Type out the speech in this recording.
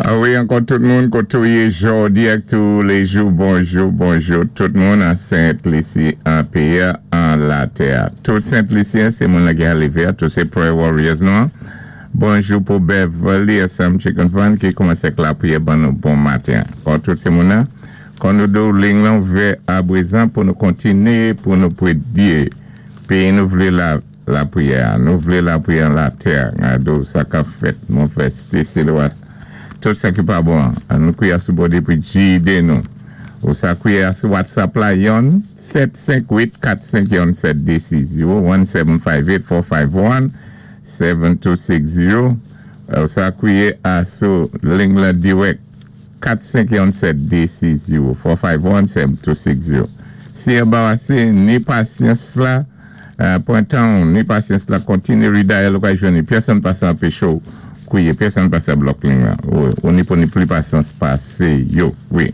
Wi, ankò tout moun koté ou yé jòdi ak touléjou, bonjou, bonjou tout moun an Sent Lisi, an péyi an latè. Tout Sent Lisyen sé moun ki lévé, tout sé prayer warriors nou. Bonjou pou Beverly SM Chicken Fun ki koumansé ak lapriyè ban nou bon maten. Kon tout sé moun kon nou do liy lan ouvè aprezan pou nou kontiné pou nou pridyé. Pi nou vlé la lapriyè, nou vlé lapriyè latè, do sa ka fèt, mon frè Stacy Loat. Tout sa ki pa bon, an nou kwiyé sou bòdé pou gidé nou. Ou sa kwiyé sou WhatsApp la, yon 758 451 7260, 1758 451 7260. Ou sa kwiyé a sou liy la dirèk 451 7260, 451 7260. Si anbarasé, ni pasyans la, pran tan, ni pasyans la, kontiné redial ou ka jwenn, pèsonn pa sa anpeché ou kwiyé, pèsonn pa sa block liy la. Ou ni pou ni plis pasyans pasé yo. Wi.